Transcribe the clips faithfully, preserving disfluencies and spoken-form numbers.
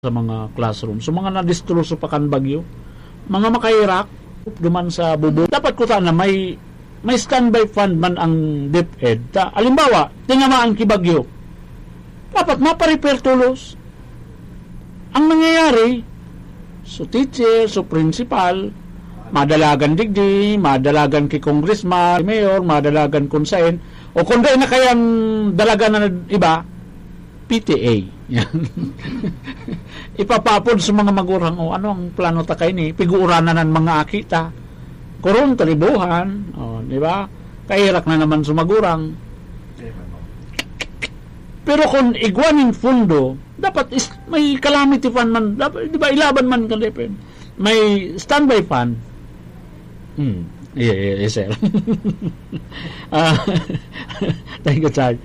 sa mga classroom. So, mga nadistroso pa kan bagyo, mga makahirak duman sa bubong. Dapat kuta na may, may standby fund man ang DepEd. Ta, halimbawa, tinamaan ki bagyo. Dapat maparepair tulos. Ang nangyayari, so teacher, so principal, madalagan digdi, madalagan ki congressman, mayor, madalagan kun saen, o kun dai na kayang dalagan na iba, P T A. Yan. Ipapapod sa mga magurang, "O, ano ang plano ta kaini? Piguuranan an mga aki ta. Kurong talibuhan." O, di ba? Kairak na naman sa magurang. Pero kung igwa ning fundo, dapat is, may calamity fund man, dapat, di ba, ilaban man kan DepEd. May standby fund. Hmm. Yeah, yeah, yeah, sir. Ah, thank you, Chad.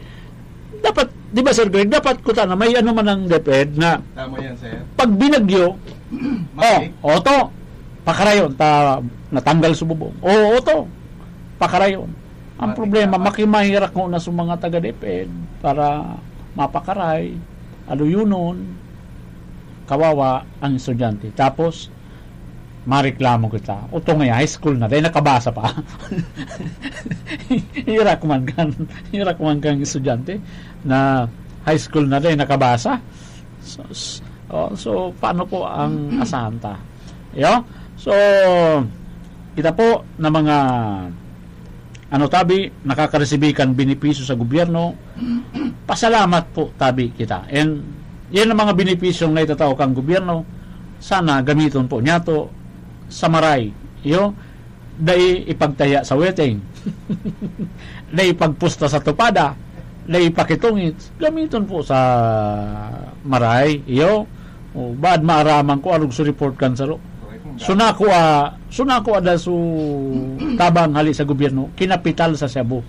Dapat, di ba, Sir Greg, dapat kuta na may ano man ang DepEd na Tama yan, sir. Pag binagyo, oh, oto, pakarayon, ta, natanggal sa bubong. Oo, oto, pakarayon. Ang problema, makimahirak ko na sa mga taga-DepEd para mapakaray, aluyunon, kawawa ang estudyante. Tapos, mareklamo kita. Oto nga, high school na, dahil nakabasa pa. Hirak man kan, hirak man kan estudyante na high school na, dahil nakabasa. So, s- oh, so, paano po ang asahan ta? Yo? So, kita po na mga ano tabi, nakakaresibi kan benepisyo sa gobyerno, pasalamat po tabi kita. And yan ang mga benepisyong naitatao kan gobyerno, sana gamiton po niyato sa maray. Iyo, dai ipagtaya sa weteng. Dai ipagpusta sa tupada. Dai ipakitungit. Gamiton po sa maray. Iyo, o, baad maaraman ko, arog sa report kan saro. Suna ko, ah, suna ko ada su tabang hali sa gobyerno, kinapital sa Cebu.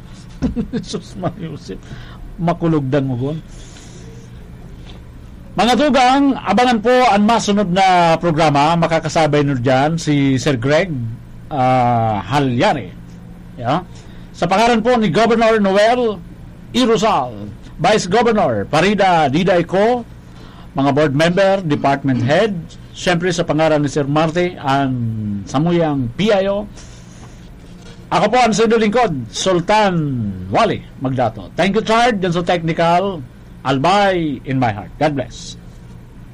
Jesus Maria Joseph, makulog dangogon. Mga tugang, abangan po ang masunod na programa. Makakasabay no dyan si Sir Greg ah, Halyari. Yeah? Sa pangalan po ni Governor Noel Irusal, Vice Governor Parida Didayco, mga board member, department head, siyempre sa pangalan ni Sir Marte, ang samuyang P I O. Ako po ang sundo lingkod, Sultan Wali Magdato. Thank you, Chard, dyan sa technical. Albay in my heart. God bless.